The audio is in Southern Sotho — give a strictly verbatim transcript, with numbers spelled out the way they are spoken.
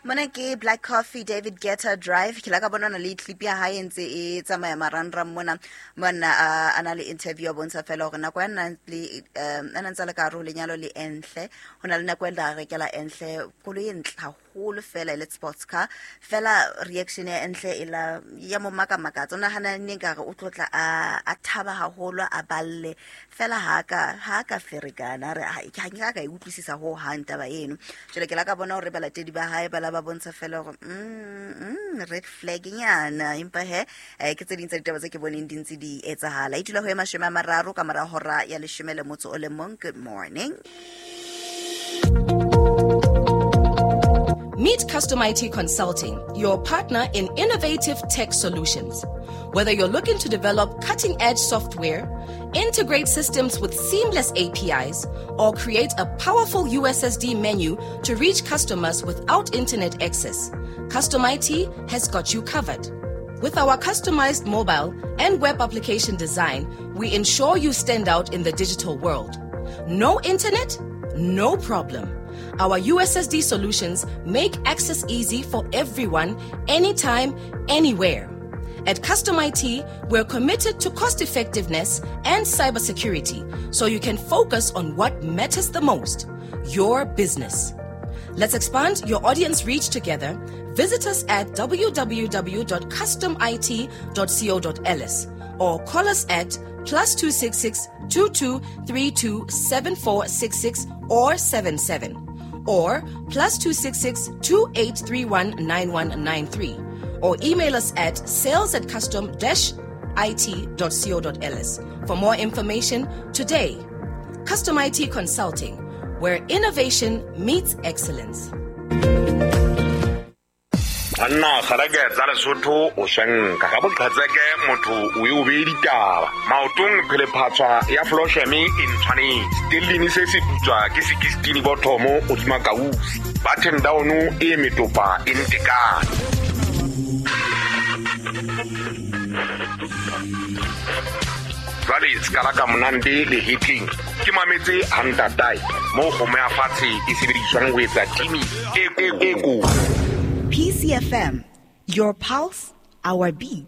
Mona ke Black Coffee, David Guetta, Drive. Ke la ka bona le clip ya hae ntse e tsamaya marangrang mona. Mona a na le interview a bontsha fela hore nako ya nna le a ntse le ka hare ho lenyalo le Enhle. Ho na le nako e la rekela Enhle koloi e ntle haholo fela e le sports car. Fela reaction ya Enhle e la ya mo makamakatsa. O nahana neng ka re o tlotla a a thaba haholo a balle. Fela ha ka ha ka ferekana re ha ke ha ka e utlwisisa ho hang taba eno. Jwale ke la ka bona hore balatedi ba hae ba la ba bontsha fela hore mm, mm, red flag nyana empa he eh, ke tse ding tsa ditaba tse ke boneng di ntse di etsahala. E dula ho e mashome a mararo ka mora hora ya leshome le motso o le mong. Good morning. Meet Custom I T Consulting, your partner in innovative tech solutions. Whether you're looking to develop cutting-edge software, integrate systems with seamless A P Is, or create a powerful U S S D menu to reach customers without internet access, Custom I T has got you covered. With our customized mobile and web application design, we ensure you stand out in the digital world. No internet? No problem. Our U S S D solutions make access easy for everyone, anytime, anywhere. At Custom I T, we're committed to cost effectiveness and cybersecurity, so you can focus on what matters the most, your business. Let's expand your audience reach together. Visit us at w w w dot custom I T dot co dot l s or call us at plus two six six, two two three two seven four six six or seven seven or plus two six six, two eight three one nine one nine three or email us at sales at custom dash I T dot co dot l s for more information today. Custom I T Consulting, where innovation meets excellence. Anna kgarake tsa Lesotho o shanka ka boqhatseke motho o e o be ditaba maotong phele phatswa ya Flosheme e ntshwanetse tellini se se putswa ke sixteen bothomo o tsuma kausi button down e metopa e ntekane. Jwale skala ka monande le hitting ke mametse hantatai mo kgomo ya fatshe e sebediswang ho etsa timi e e ko. P C F M, your pulse, our beat.